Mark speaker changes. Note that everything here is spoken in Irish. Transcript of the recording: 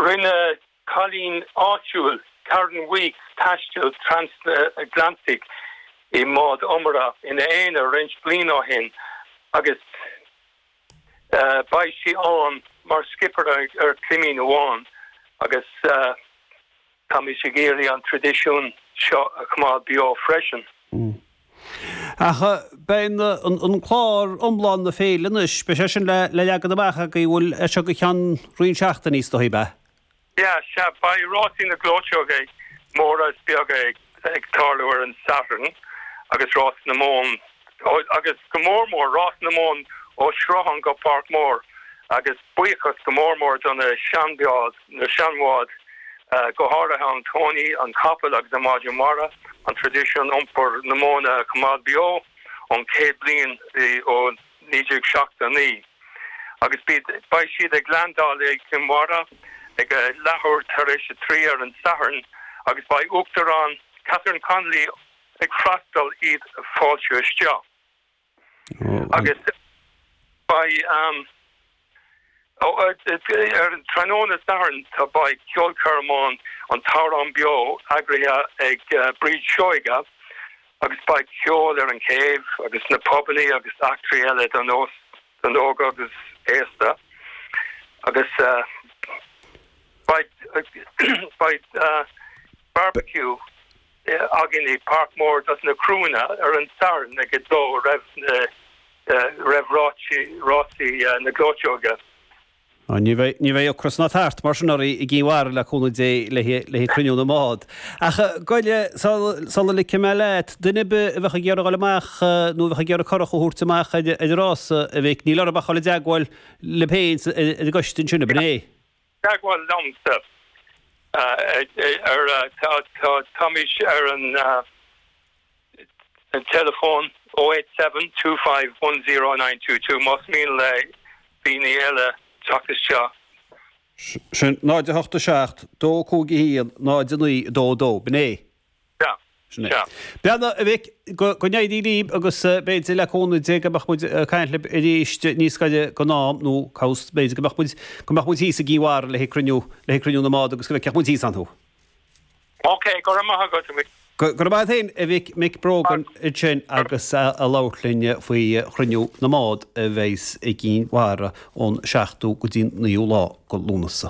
Speaker 1: Rinne cailín áitiúil, Karen Weeks, taisteal trasatlantaigh i mbád iomaire ina aonar roinnt bliain ó shin agus beidh sí ann mar skipper ar chlimín amháin agus táimid ag iarraidh an traidisiún seo a choimeád beo freisin.
Speaker 2: Ach beidh an clár iomlán na féile anois, beidh sé sin le leagan amach agaibh, bhfuil, as seo go ceann roinnt seachtainí is dóigh, ab ea?
Speaker 1: Yeah, sea, beidh rásaí na gcleoiteoga móra is beaga ag tarlú ar an Satharn agus rás na mbonn, agus go mór mór rás na mbonn ó Sruthán go Páirc Mór agus buíochas go mór mór do na seanbháid, na seanbháid, go háirithe an Tony, an Capall agus an Maighdean Mhara, an traidisiún iompar na móna a choimeád beo ón 100 bliain ó 1979. Agus beidh siad ag leaindeáil i gCill Mhara ag a leathuair tar éis a 3 ar an Satharn agus beidh Uachtarán Catherine Connolly ag freastal iad a fáiltiú isteach. Agus beidh ar an tráthnóna Sathairn tá beidh ceolchoirm ann An tAmhrán Beo eagraithe ag Bríd Seoige agus beidh ceol ar an chéibh agus na pubannaí agus eachtraí eile don don óg agus aosta agus beidh beidh barbecue againn i Páirc Mór dos na criúnna ar an Satharn ag 2 roimh na roimh rásaí na gcleoiteoga.
Speaker 2: Ní bheidh, ní bheidh ocras ná tart mar sin oraibh i gCinn Mhara le cúnamh Dé le haghaidh cruinniú na mbád. Ach goile, sula ligfidh mé leat, duine ar bith a bheadh ag iarraidh dul amach nó a bheadh ag iarraidh curach a thabhairt amach ar an rása, a Mhic, níl orthu ach dul i dteagmháil libh féin ar an gcoiste ansin, ab in é?
Speaker 1: Teagmháil liomsa ar táimid ar an teileafón 087 25 10922 más mian le daoine eile teacht isteach.
Speaker 2: Sin 0 8 7 2 5 1 0 9 2 2, b'in é?
Speaker 1: Sea.
Speaker 2: Sin é. Beannacht, a Mhic, go n-éirí libh agus b'fhéidir le cúnamh Dé go mbeadh muid ag caint libh arís níos gaire don am nó cá bhfios b'fhéidir go mbeadh muid, go mbeadh muid thíos i gCinn Mhara le haghaidh cruinniú, le haghaidh cruinniú na mbád agus go bhfeicfeadh muid thíos ann thú.
Speaker 1: Ok, go raibh maith agat, a Mhic.
Speaker 2: Go raibh maith agat féin, a Mhic, Mick Brogan ansin agus ag labhairt linn faoi chruinniú na mbád a bheas i gCinn Mhara ón seachtú go dtí an naoú lá de Lúnasa.